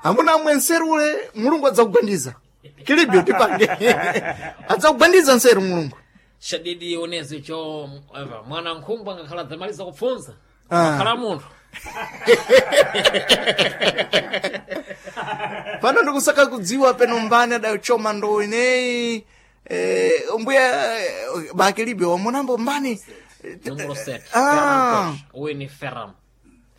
Amuna amwe nseru ule Mulungu adzakugwandiza. Kilibyo tipange. Adzakugwandiza nseru Mulungu. Shadidi onezi cho eva, mwana nkhumba ngakhala dzamaliza kupfunza. Ah. Khala munthu. Pano ndikusaka kudziwa peno mbani adachoma ndo ineyi. Mbuya bakilibyo wamunambo mbani. Número 7. Ah. Uyu ni Ferran.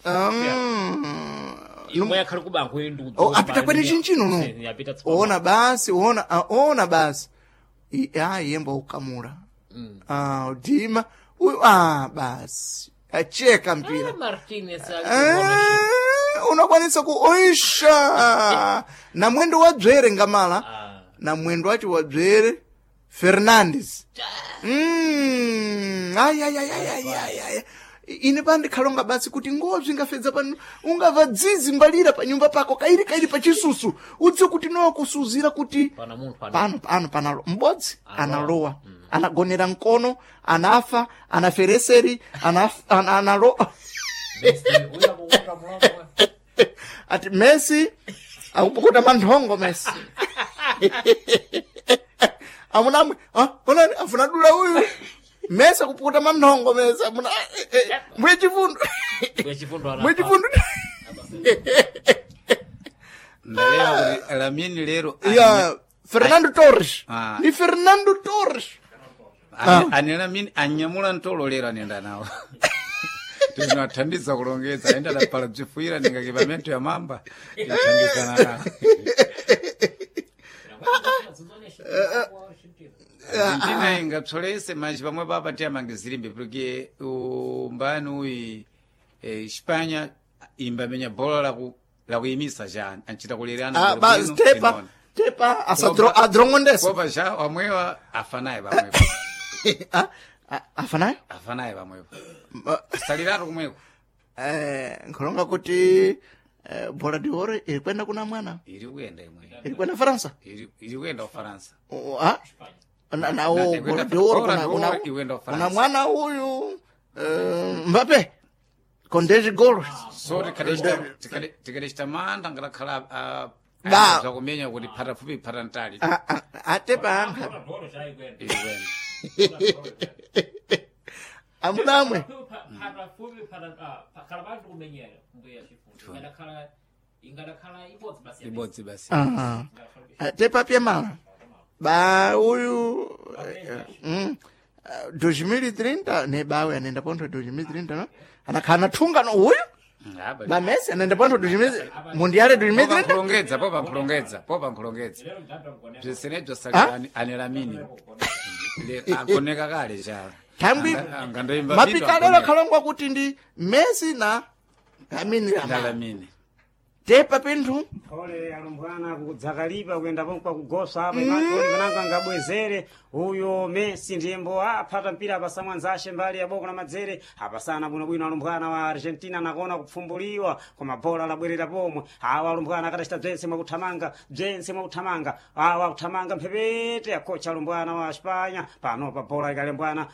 Um, Imwe yakhali kubango uyu ndi Oh, apita kwene chinchino no. Apita tsopano. Ona basi, ona, ah, ona basi. Yemba ukamula. Ah, udima. Uyu, ah, basi. Acheka mpira. Ah, Martinez Eh, unakwanisa kuoisha na mwendo wa dzwere ngamala Ah. na mwendo wacho wa dzwere Fernandes. Ai, ai, ai, ai, ai, ai, ai. Ine pandikhalonga basi kuti ngobzi ingafedza pano ungava dzizi mbalira pa nyumba pako kairi kairi pa chisusu udziwe kuti nowa kusuzira kuti Pana munthu ana. pano pano panalo m'bodzi analowa anagonera mkono anafa anafereseri analo Messi, uyu akukuta mulomo. ati Messi akupukuta manthongo Messi amuna amwe ah, onani afuna dula uyu Messi akupukuta manthongo Messi amuna mwe chifundo Mbuya chifundo ana. mwe chifundo Ndalewa kuti Lamine lero ya Fernando Torres Ah. ni Fernando Torres ane Lamine anyamula ntolo lero anenda nawo. Tinathandiza kulongedza aenda adapala bzifuyira ndingake pamento ya mamba tithandizana nawo. Argentina ingapsolese manji pamwe papa tiyamangizirimbe porque umbani uyi Espanha imbamenya bola lakuyimisa cha anchita kulerana ah, ba tepa tepa asadro adrongondesa kopa cha wamwewa afanaye pamwepo ah, ah, afanayo afanaye pamwepo saliratu kumweko nkhulonga kuti bola de oro iri kwenda kuna mwana iri kuyenda imwe iri kwenda Faransa iri kuyenda ufaransa Oh, ah? Na, na, Na- oh, bola de oro Bola kuna, de kuna, Oro iwenda kuna Ufaransa. mwana uyu Mbappe con 10 gols so tikadacita manda ngalakhala Ba. zakumenya kuti phata fupi phata ntali Ah, ah, atepa ankha iri kuyenda amunamwe ibodzi basi Ah, ah, tepa pye mala ba uyu 2030 ne bawe anaenda pontho 2030 no anakhala nathunga no uyu ba Messi anaenda pontho 2000 mundiale 2030 popankhulongedza popankhulongedza popankhulongedza bzisenebzo sali anelamini agoneka kale cha Thangwi angandoimba mapikalelo khalongwa kuti ndi Messi na Lamine Yamal. Lamine Tepa pinthu Ole alumbwana kudzakalipa kuyenda pomwe kugosa apa imatoni panango angabwezere uyo Messi ndiyembo aphata mpira apasa mwanzashe mbali ya boko la madzere apasana bwinobwino alumbwana wa Argentina nakona kupfumbuliwa koma bola labwerera pomwe awa alumbwana akadachita bzense mwakuthamanga bzense mwakuthamanga awa kuthamanga mphepete akocha alumbwana wa Espanya panopa bola ikalembwana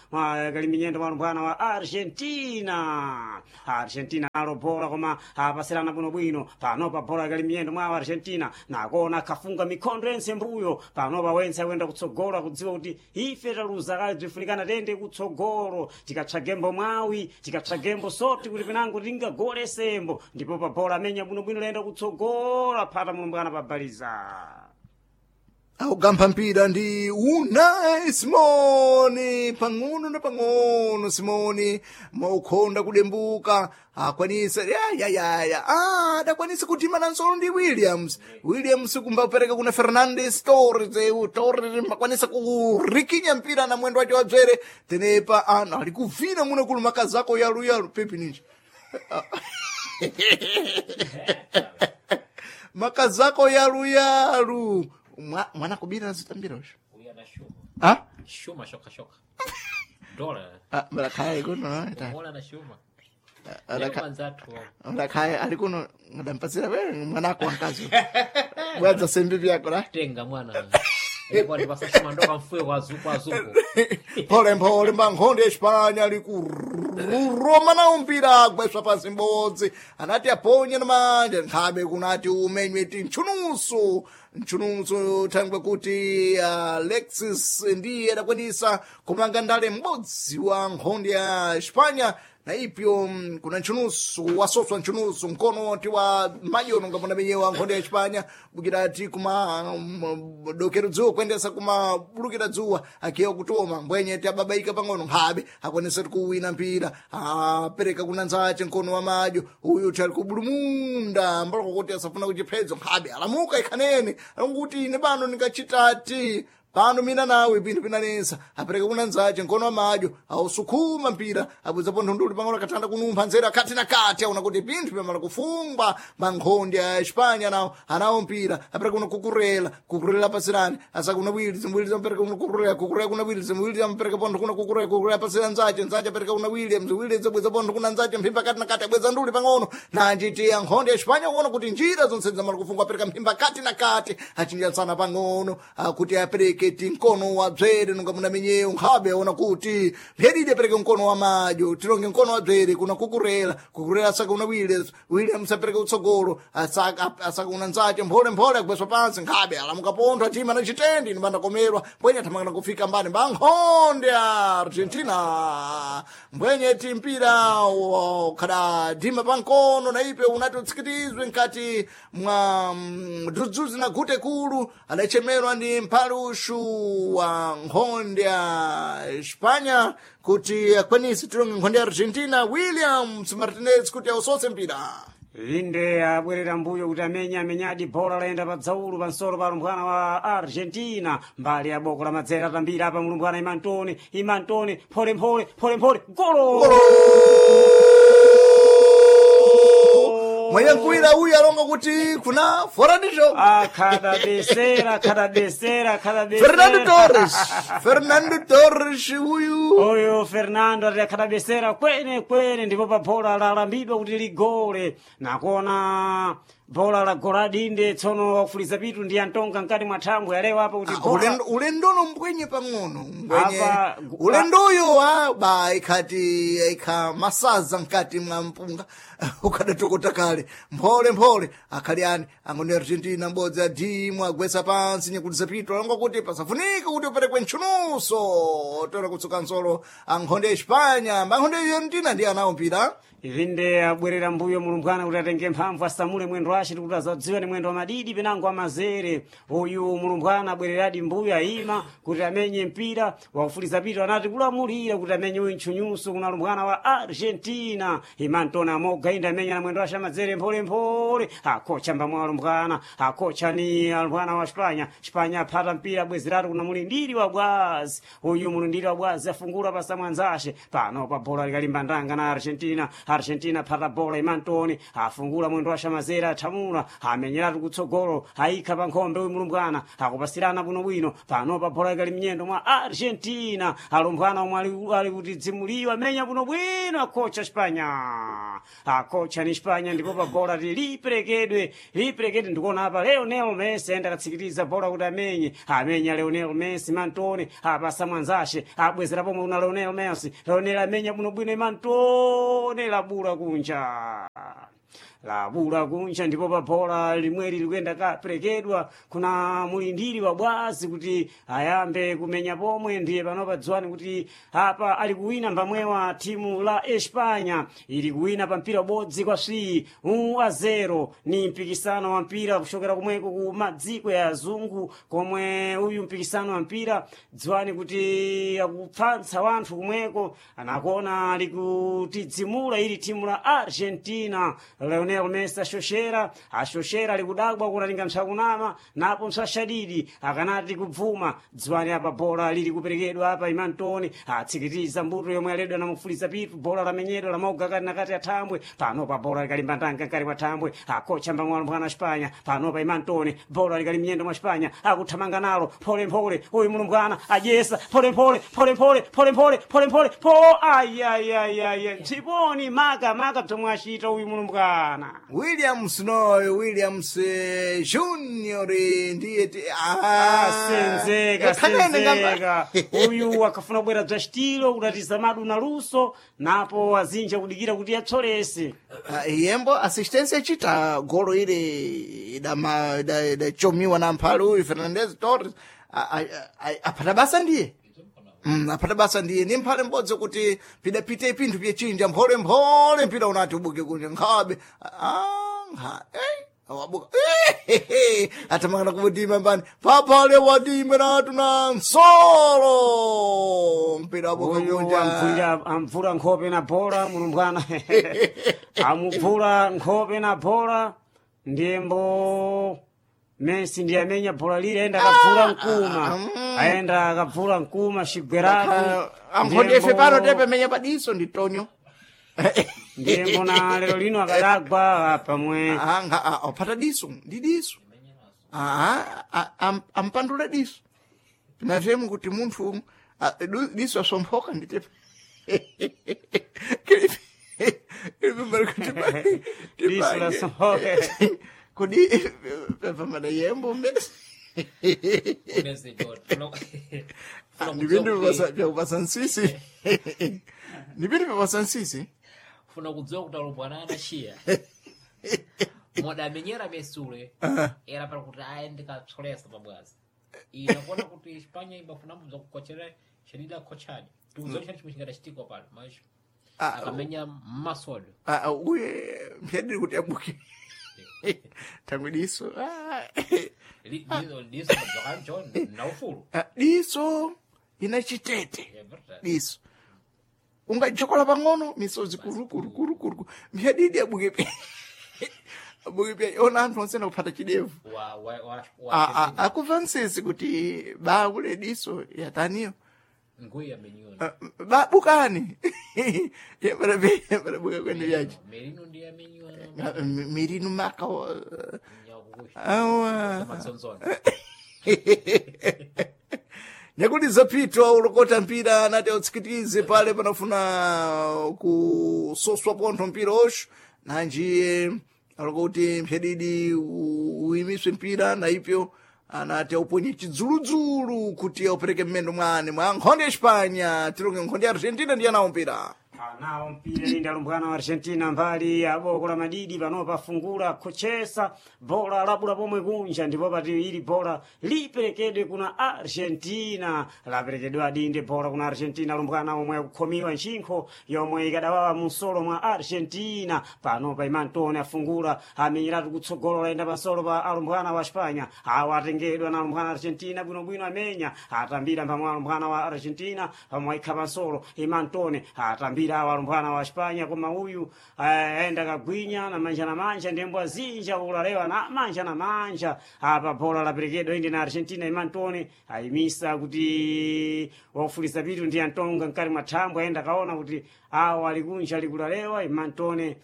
ikali minyendo mwa alumbwana wa Argentina Argentina nalo bola koma apasirana bwinobwino panopa bola ikali miyendo mwa Argentina nakona kafunga mikhondo yense mbuyo panopa wense akuyenda kutsogolo akudziwa kuti ife taluza kale bzifunikana tende kutsogolo tikatsagembo mwawi tikatsagembo soti kuti pinango tingagole sembo ndipo pa bola amenya bwinobwino layenda kutsogolo aphata mulumbwana pabaliza akugampha mpira ndi Unai Simoni pang'ono na pang'ono Simoni maukhonda kudembuka akwanisa yayayaya ah, adakwanisa kutima nansolo ndi Williams Williams kumbapereka kuna Fernandes Torres eu Torres makwanisa kurikinya mpira na mwendo wacho wadzere tenepa ana ali kuvina muno kulu makazako yaluyalu pepi ninji makazako yaluyalu mwana kubira azitambira osho ah Shuma shoka shoka. Dola. ah mlakhaye kuno ta Bola na shuma. Alaka- Mwanzathu. mlakhaye ali kuno ngadampatsira wewe mwanako wankazi bwadza sembi vyako la Tenga mwana. Ilikuwa ni basa shuma ndoka mfuwe kwa zuku kwa zuku. pole mpole mbankhonde ya Espanya ali ku Roma nawo mpira agweswa pansi mbodzi anati aponye na manja nkhabe kunati umenywe ti ntchunuso ntchunuso thangwe kuti Alexis ndiye adakwanisa kumanga ndale m'bodzi wa nkhondo ya Espanya na ipyo kuna ntchunuso wasoswa ntchunuso mkono ti wa majono ngapona menyewa nkhondo ya Espanya bukirati kuma dokero dzuwa kuyendesa kuma bulukira dzuwa akiwa kutoma mbwenye ti ababaika pang'ono nkhabe akwanisa kuwina mpira apereka kuna nzace mkono wa madyo uyu tali kubulumunda mbaloko kuti asafuna kuchiphedzo nkhabe alamuka ikhanene akuti ine pano ndingachitati pano mina nawe pinthu pinanesa apereka kuna nzace mkono wa madyo ausukuma mpira abwezapo nthunduli pang'ono akathanda kunumpha nzeru akhati na kati aona kuti pinthu pyamala kufungwa mankhondi a Espanya nawo anawo mpira apereka kuna kukurela kukurela pasirani asakuna Williams Williams apereka kuna kukurela kukurela kuna Williams Williams apereka pontho kuna kukurela kukurela pasirani nzace nzace apereka kuna Williams Williams abweza pontho kuna nzace mphimba kati na kati abweza nduli pang'ono nanjiti nkhondi ya Espanya kuona kuti njira zonse zamala kufungwa apereka mphimba kati na kati achinjansana pang'ono kuti apereke ti mkono wa bzere nunga muna menyeyo nkhabe aona kuti mphedidi apereke mkono wa madyo tilonge mkono wa bzere kuna kukurela kukurela asaka una Williams Williams apereke utsogolo asaka una nzace mphole mphole agweswa pansi nkhabe alamuka pontho achima na chitendi nimbandakomerwa mbwenye athamangana kufika mbani mba nkhonde ya Argentina mbwenye ti mpira khada dima pankono na ipe unati utsikitizwe nkati mwa dzudzuzi na gute kulu adachemerwa ndi mphalushu wa nkhonde ya Espanya kuti akwanise tilonge nkhonde ya Argentina Williams Martinez kuti ausose mpira. Inde abwerera mbuyo kuti amenye amenyadi bhola layenda pa dzaulu pansolo pa alumbwana wa Argentina mbali ya boko la madzera atambira apa mulumbwana Imantoni Imantoni pholemphole pholemphole golo Mwenye nkuwira uyu alonga kuti kuna fora de jogo. Akhadabesera akhadabesera akhadabesera Fernando Torres Fernando Torres uyu uyu Fernando ati akhadabesera kwene kwene ndipo pa bhola lalambidwa kuti ligole nakuona bhola la goladinde tsono wakufuliza pitu ndi antonga mkati mwa thambwe alewa apa kuti bhola ulendono mbwenye pang'ono mbwenye Apa- ulendoyo wa ba ikhati ikha masaza mkati mwa mpunga ukadatokota kale mphole mphole akhali ani angoni Argentina mbodzi adimu agwesa pansi nyakutisa pitu alonga kuti pasafunike kuti uperekwe ntchunuso toera kutsuka nsolo ankhonde ya Espanya mbankhonde ya Argentina ndiye anawo mpira. Inde abwerera mbuyo mulumbwana kuti atenge mphamvu asamule mwendo wace tikuti azadziwa ni mwendo wa madidi penango amazere uyu mulumbwana abwereradi mbuyo ayima kuti amenye mpira wakufuliza pitu anati kulamulira kuti amenye uyu ntchunyuso kuna lumbwana wa Argentina Imantona amoga inde amenya na mwendo wace amazere mpholemphole akocha mbamwe alumbwana akocha ni alumbwana wa Espanya Espanya aphata mpira abwezeratu kuna mulindiri wa bwazi uyu mulindiri wa bwazi afungula pasa mwanzace pano pa bola likalimba ndanga na Argentina Argentina phata bola Imantoni afungula mwendo wa shamazera athamula amenyeratu kutsogolo ayikha pa nkhombe uyu mulumbwana akupasirana bwinobwino pano pa bola ikali mnyendo mwa Argentina alumbwana omwe ali kuti dzimuliwa amenya bwinobwino akocha Espanya akocha ni Espanya ndipo pa bola ti liperekedwe liperekedwe ndikuona apa Lionel Messi ayenda akatsikiriza bola kuti amenye amenya Lionel Messi Mantoni apasa mwanzace abwezera pomwe kuna Lionel Messi Lionel amenya bwinobwino Imantoni labula kunja labula kunja ndipo pa bola limweli likuyenda kaperekedwa kuna mulindiri wa bwazi kuti ayambe kumenya pomwe ndiye panopa dziwani kuti apa ali kuwina mbamwewa timu la Espanya ili kuwina pa mpira ubodzi kwa swi 1-0 ni mpikisano wa mpira kuchokera kumweko ku madziko ya azungu komwe uyu mpikisano wa mpira dziwani kuti akupfantsa wanthu kumweko anakuona ali kutidzimula ili timu la Argentina Lionel Messi ashoshera ashoshera alikudabwa kunalinga msakunama napo msashadidi akanati kubvuma dziwani apa bola lili kuperekedwa apa Imantoni atsikitiza mbuto yomwe aledwa namufuliza pitu bola lamenyedwa lamoga kati nakati athambwe pano pa bola likalimba ndanga nkati mwa thambwe akocha mbamwalo mwana wa Espanya pano pa Imantoni bola likali mnyendo mwa Espanya akuthamanga nalo pholemphole uyu mulumbwana adyesa pholemphole pholemphole pholemphole pholemphole po ayayayaya mtsiponi maka maka bzomwe achita uyu mulumbwana. Alumbwana. Williams noyo Williams Junior ndiye Senzeka, Eh, kanene ngamba. senzeka. Uyu akafuna kubwera bza xitilo kudatiza madu na luso, napo azinja kudikira kuti atsolese. Yembo assistência chita golo ile idama idachomiwa na mphale uyu Fernandez Torres apata basa ndiye. Apata basa ndiye ni mphale mbodzi kuti pidapite pinthu pyechinja mphole mphole mpira unati ubuke kunja nkhabe nkha wabuka atamangana kubudima mbani papale wadime natu na nsolo mpira wabuka Uyu kunja amvula nkhope na bola mulumbwana. Amubvula nkhope na bola, ndiyembo Messi ndiye amenya bola lile aenda akabvula mkuma. Aenda akabvula mkuma xigweratu. Amphonde ife pano tepemenya padiso ndi tonyo. Ndiyembo na lero lino akadagwa pamwe. Anga apata diso ndi diso. Ampandula diso pinatemu kuti munthu diso asomphoka nditepe. Diso lasomphoka. Kodi pamada yembo mmene ndipindu vyakupasa nsisi, ndipindu vyapasa nsisi. Funa kudziwa kuti alumbwana anaxiya modamenyera mesule era para kuti aye ndikatsolesa pabwazi ina kuona kuti Espanha imbafuna mbudza kukochera xedida kochadi tikudziwa chani chimwe chingadachitikwa pano mas akamenya mmasodo. Uye mpyadiri kuti abuke tangwe diso. Diso madzokanjo na ufulu. Diso ina chitete. É verdade. Diso ungajokola pang'ono misozi kurukurukurukuru mpyadidi abuke pya abuke pya ona anthu onse nakuphata chidevu. Wa wa wa wa Akuva nsisi kuti bakule diso yataniyo. Nguyi amenyiwa. Babukani yambarabuka kwene vyacho. Merino ndiye amenyiwa. Mirinu maka Nyakukusha awa matsonzona. Nyakuti zapitwa ulokota mpira anati autsikitize pale panafuna kusoswa pontho mpira oxo nanjiye alokuti mphyadidi uyimiswe mpira na ipyo anati auponye chidzuludzulu kuti aupereke mmendo mwane mwa nkhonde ya Espanha tilonge nkhonde ya Argentina ndiye anawo mpira. Anawo mpira lindi alumbwana wa Argentina mbali ya boko la madidi panopa afungula kuchesa bola labula pomwe kunja ndipo pati ili bola liperekedwe kuna Argentina laperekedwa dinde bola kuna Argentina alumbwana omwe akukhomiwa ntchinkho yomwe ikadawawa munsolo mwa Argentina panopa Imantone afungula amenyeratu kutsogolo layenda pansolo pa alumbwana wa Espanya awa atengedwa na alumbwana Argentina bwinobwino amenya atambira pamwe alumbwana wa Argentina pamwe aikha pansolo Imantone atambira awa alumbwana wa Espanya koma uyu aenda kagwinya na manja na manja ndembo azinja ulalewa na manja na manja apa bola laperekedwa indi na Argentina Imantone ayimisa kuti wakufuliza pitu ndi Antonga mkati mwa thambwe aenda kaona kuti awa alikunja alikulalewa Imantone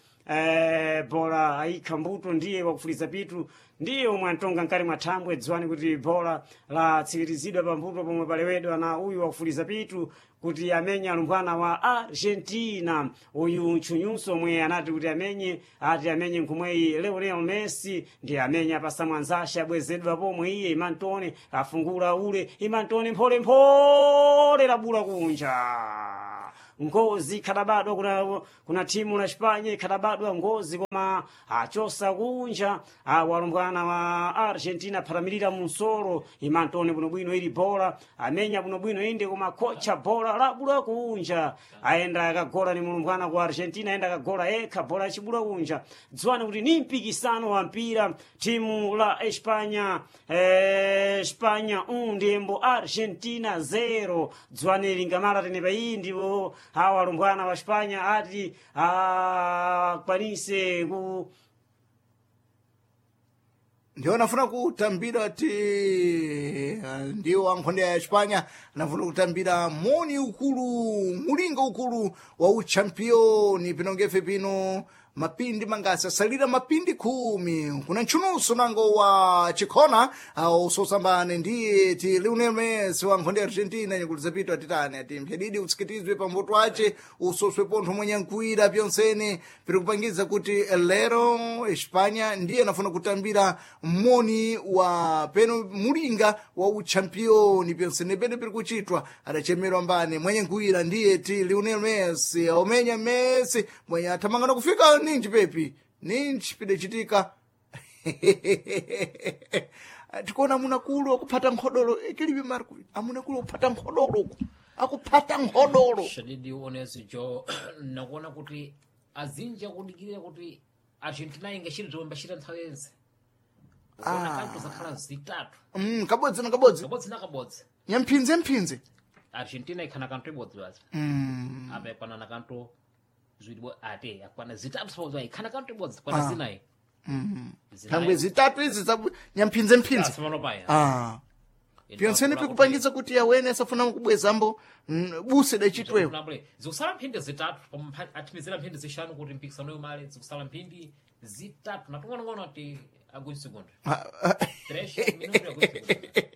bola aikha mbuto ndiye wakufuliza pitu ndiye omwe antonga mkati mwa thambwe dziwani kuti bola latsikirizidwa pambuto pomwe palewedwa na uyu wakufuliza pitu kuti amenye alumbwana wa Argentina uyu ntchunyunso omwe anati kuti amenye ati amenye nkhumweyi Lionel Messi ndiye amenye apasa mwanzashe abwezedwa pomwe iye Imantone afungula ule Imantone mpholemphole labula kunja ngozi ikhadabadwa kuna timu la Espanya ikhadabadwa ngozi koma achosa kunja awalumbwana wa Argentina aphatamirira munsolo Imantone bwinobwino ili bola amenya bwinobwino inde koma kocha bola labula kunja aenda akagola ni mulumbwana ku Argentina aenda akagola ekha bola achibula kunja dziwani kuti ni mpikisano wa mpira timu la Espanya Espanya 1 ndiyembo Argentina 0 dziwani lingamala tenepa iyi ndipo awa alumbwana wa Espanya ati akwanise ku Ndiwo anafuna kutambira ti ndiwo ankhonde ya Espanya anafuna kutambira moni ukulu mulingo ukulu wa uchampioni pinongefe pino. Mapindi mangasi asalira? Mapindi 10. Kuna ntchunuso nango wa chikhona usosambane ndiye ti Lionel Messi wa nkhonde ya Argentina. Nyakuti zapitwa atitani ati mphedidi utsikitizwe pambuto ace usoswe pontho mwenye nkuira pyonsene piri kupangiza kuti lero Espanya ndiye anafuna kutambira moni wa peno mulinga wa uchampioni pyonsene pene piri kuchitwa adachemerwa mbane mwenye nkuira ndiye ti Lionel Messi omenya Messi mwenye athamangana kufika ninji pepi ninji pidachitika. Tikuona amunakulu akuphata nkhodolo ikilibe Marco, amunakulu akuphata nkhodolo uku akuphata nkhodolo. Shadidi uonezi jo nakuona kuti azinji akudikirira kuti Argentina ingachita zomwe mbachita nthawi yense, ukuona kanto zakhala zitatu. Kabodzi na kabodzi. Kabodzi na kabodzi. Nyamphinze mphinze. Argentina ikhana kanto ibodzi basi, apa ikwana kanto ziwiri ate akwana zitatu sabodzi ikhana kanto ibodzi kwana zinayi. Thangwe zitatu izi za nyamphinze mphinze. Simano paya. Pyonsene pikupangitsa kuti awene asafuna kubwezambo buse dachitwewo. Zikusala mphindi 3 pomwe athimizira mphindi 5 kuti mpikisano yomale. Zikusala mphindi 3 natung'onong'ono ati agundi segundo 3 minuto agundi segundo.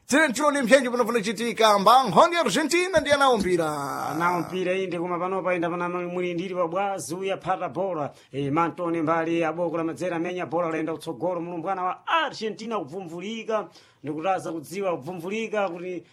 Tine ntione mphenji panofuna chitika mba nkhondo ya Argentina ndiye anawo mpira. Nawo mpira inde, koma panopa inda pana mulindiri wa bwazi uya phata bola e, Mantoni mbali aboko la madzera amenya bola laenda kutsogolo mulumbwana wa Argentina kubvumvulika ndikutaza kudziwa kubvumvulika kuti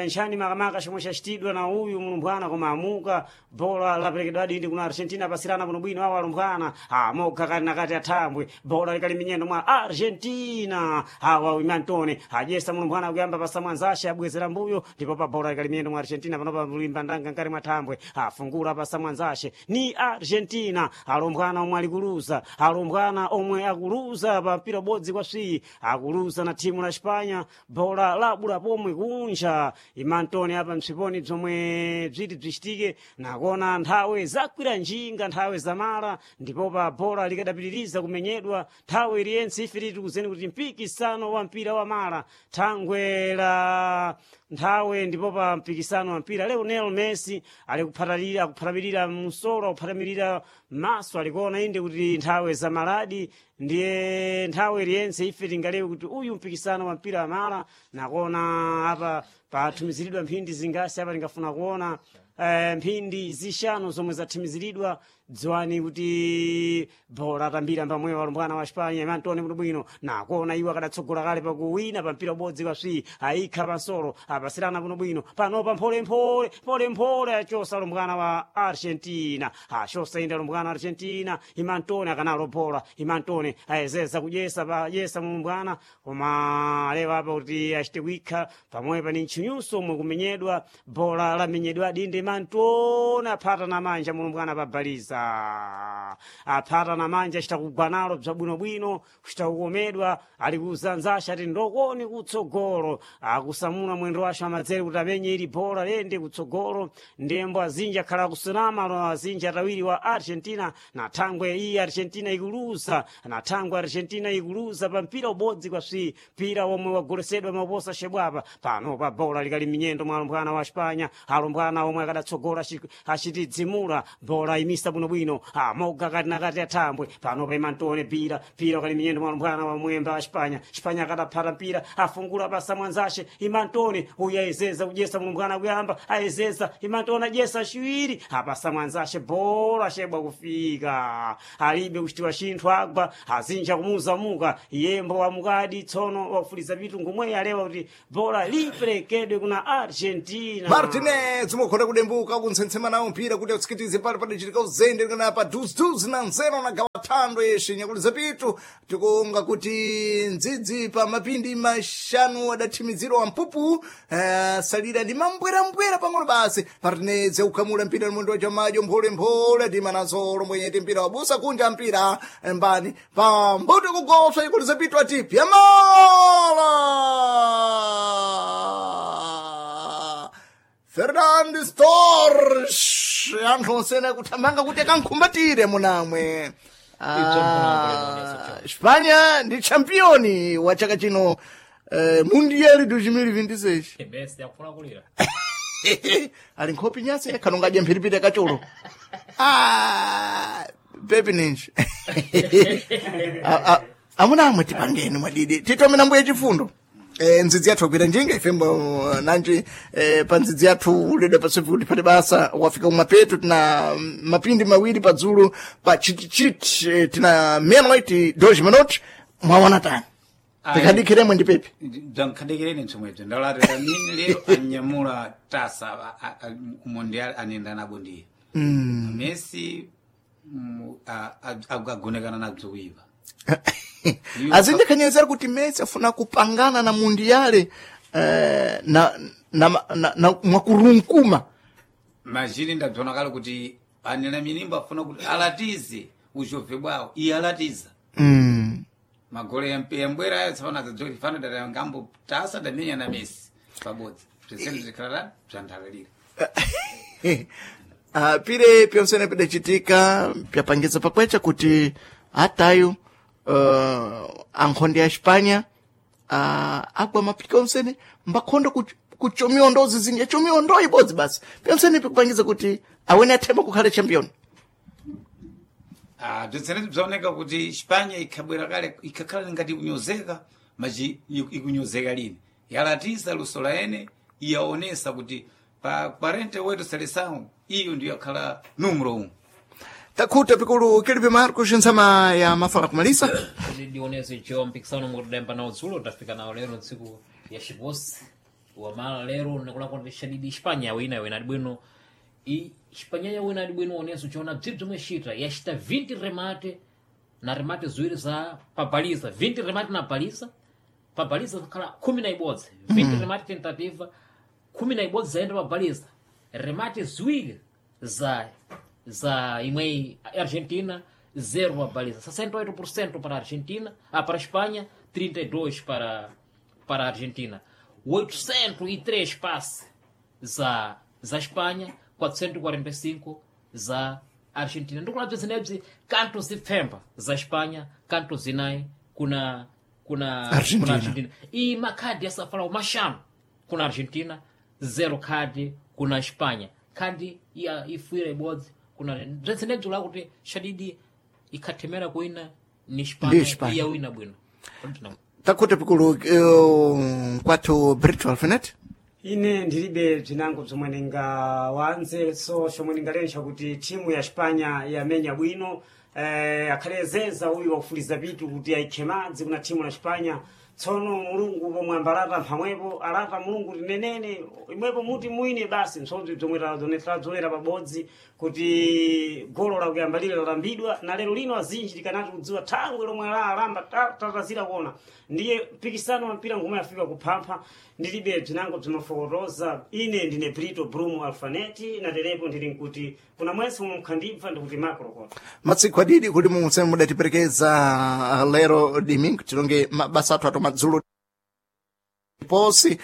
nxani makamaka chomwe chachitidwa na uyu mulumbwana, koma amuka bola laperekedwa dindi kuna Argentina pasirana kuno bwino awo alumbwana amoga kati nakati athambwe bola likali minyendo mwa Argentina awa Imantone ajesa mulumbwana kuyamba pasamwanzashe abwezera mbuyo ndipo pa bola likali minyendo mwa Argentina panopa mulimba ndanga nkati mwa thambwe afungula pasamwanzashe ni Argentina alumbwana omwe alikuluza alumbwana omwe akuluza pa mpira ubodzi kwa swiyi akuluza na thimu la Espanya bola labula pomwe kunja Imantoni apa msiponi bzomwe bziti bzichitike nakona nthawe zakwira njinga nthawe zamala ndipo pa bola likadapitiriza kumenyedwa nthawe iliyense ife titikuzeni kuti mpikisano wa mpira wa mala thangwe la nthawe ndipo pa mpikisano wa mpira Lionel Messi ali kuphatalira akuphatapirira msolo akuphatamilira maso alikuona inde kuti nthawe za maladi ndiye nthawe iliyense ife tingalewe kuti uyu mpikisano wa mpira wa mala nakona apa pathumiziridwa mphindi zingasi apa tingafuna kuona mphindi zishanu zomwe zathimiziridwa. Dziwani kuti bola atambira mbamweyo alumbwana wa Espanya Imantoni bwinobwino nakuona iwo akadatsogola kale pakuwina pa mpira ubodzi kwa swi ayikha pansolo apasirana bwinobwino panopa mpholemphole mpholemphole achosa alumbwana wa Argentina achosa inde alumbwana wa Argentina Imantoni akanalo bola Imantoni ayezeza kudyesa payesa mulumbwana koma alewa apa kuti achite kuikha pamwepa ni ntchinyuso omwe kumenyedwa bola lamenyedwa dinde Imantoni aphata na manja mulumbwana pabaliza aphata na manja achita kugwa nalo bzabwinobwino kuchita kukomedwa ali kuzanzasha ati ndokoni kutsogolo akusamuna mwendo wace amadzere kuti amenye ili bola lende kutsogolo ndembo azinji akhala akusunama lo azinji atawiri wa Argentina na thangwe iyi Argentina ikuluza na thangwe Argentina ikuluza pa mpira ubodzi kwa swi mpira omwe wagolesedwa maposa shebwapa pano pa bola likali minyendo mwa alumbwana wa Espanya alumbwana omwe akadatsogola achitidzimula bola imisa bwinobwino amoga kati nakati athambwe pano pa Imantone pira pira ukali minyendo mwa alumbwana wa mwemba wa Espanya Espanya akadaphata mpira afungula pasa mwanzashe Imantone uyu ayezeza kudyesa mulumbwana kuyamba ayezeza Imantone adyesa chiwiri apasa mwanzashe bola shebwa kufika alibe kuchitiwa chinthu agwa azinja kumuzamuka yembo wamukadi tsono wakufuliza pitu ngomwe alewa kuti bola liperekedwe kuna Argentina. Martinez mukhona kudembuka kunsensema nawo mpira kuti atsikitize pali padachitika uzende kana pa duziduzi na nzero na gawa thando yeshe nyakuti zapitu tikuonga kuti ndzidzi pa mapindi 5 adathimizirwa mpupu salira ndi mambwerambwera pang'ono basi. Martinez ukhamula mpira ni mwendo wa chamajo mpholemphole ndima nansolo mwenyeti mpira wabusa kunja mpira mbani pambuto kugoswa nyakuti zapitu ati pyamala Fernandes Torres anthu onsene kuthamanga kuti akankhumbatire munamwe. Espanya ndi championi wa chaka chino Mundial 2026. Messi akufuna kulira. Ali nkhopi nyasi khanongadya mphiripiri akachulo. Ah, pepi ninji. Amuna amwe tipangeni mwadidi. Titomena mbuye chifundo. Ndzidzi yathu akwira njinga ifembo nanji pa ndzidzi yathu ulidwe pasifuti pati basa wafika kumapeto tina mapindi mawiri padzulu pa chitichiti tina meia-noite 2 minutos mwaona tani tikadikhiremwe ndi pepi bzankhandikireni msomwebzo ndalatira mini lero anyamula tasa mundial anenda nabo ndiye Messi agonekana nabzo kuipa. Azindikhanyezera kuti Messi afuna kupangana na mundiyale na mwakurunkuma. Majini ndabzona kale kuti anena minimbo afuna kuti alatize uzhobve bwawo iye alatiza magole yambwera ayo tsapano adzadzoki fano data ngambo tasa damenya na Messi pabodzi bzesene zikhalala bzanthalalira. Pire pyonsene pidacitika pyapangiza pakwecha kuti atayo ankhonde ya Espanha agwa mapika onsene mbakhonda kuchomiwa ndozi zinja chomiwa ndo ibodzi basi pyonsene pikupangiza kuti awene athemba kukhala champion. Ah, bzitsene bzaoneka kuti Espanya ikhabwera kale ikakhala ngati kunyozeka machi ikunyozeka lini yalatisa luso la ene iyaonesa kuti pa 48 seleção iyo ndiyo yakhala numero 1. Takhuta pikulu Kilipe Marcos ntsama ya mafala kumalisa. Kuti ndionese cho mpikisano mukutidayamba nawo dzulo tafika nawo lero ntsiku ya xiposi wamala lero nikulakwa ndi shadidi Espanya wina wina adibwino i Espanya yawina adibwino oneso chiona bzibzi omwe xita yaxita 20 remate na remate ziwiri za pabaliza 20 remate na baliza pabaliza zakhala 11 20 remate tentativa 11 zayenda pabaliza remate ziwiri za imwe Argentina zero pabaliza 68% para a Argentina para a Espanha 32 para a Argentina 803 passe za Espanha 445 za Argentina ndikulabza zinebzi kanto zipfemba za Espanha kanto zinayi kuna Argentina. kuna Argentina iyi makhadi asafalawo maxanu kuna Argentina zero khadi kuna Espanha khadi ya ifuira ibodzi kuna bzensenebzi lakuti shadidi ikhathemera kuina ni Ndi Espanha Espanha. iyawina bwino. Takhuta pikulu kwathu Brito Alfinet. Ine ndilibe bzinango bzomwe ndingawanze so chomwe ndingalensha kuti timu ya Espanya yamenya bwino akhalezeza uyu wakufuliza pitu kuti ayikhe madzi kuna timu la Espanya tsono mulungu pomwe ambalata mphamwepo alata mulungu tinenene imwepo muti mwine basi msodzi bzomwe tadzonera pabodzi kuti golo lakuyamba lile lalambidwa na lero lino azinji tikanati kudziwa thangwe lomwe la alamba tatazira kuona ndiye mpikisano wa mpira ngomwe afika kuphampha ndilibe bzinango bzimafokotoza ine ndine Brito Brumo Alfaneti na terepo ndili nkuti kuna mwese momwe mkhandibva ndikuti makolokota. Matsiku adidi kuti mumseme mudatiperekeza lero domingo tilonge mabasa athu atomadzulo posi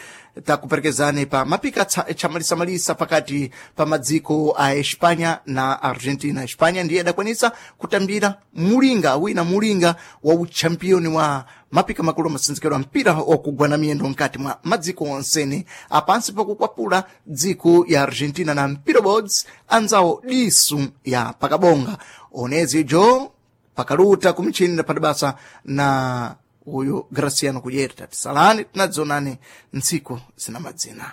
takuperekezani pa mapika chamalisamalisa pakati pa madziko a Espanya na Argentina. Espanya ndiye adakwanisa kutambira mulinga wina mulinga wa uchampioni wa mapika makulu masinzikiro a mpira wakugwana miyendo mkati mwa madziko onsene apansi pakukwapula dziko ya Argentina na mpira bods anzawo disu ya pakabonga onezi jo pakaluta kumichini padabasa na uyu Graciano Kudyerta. Tisalani tinadzonani ntsiku zina madzina.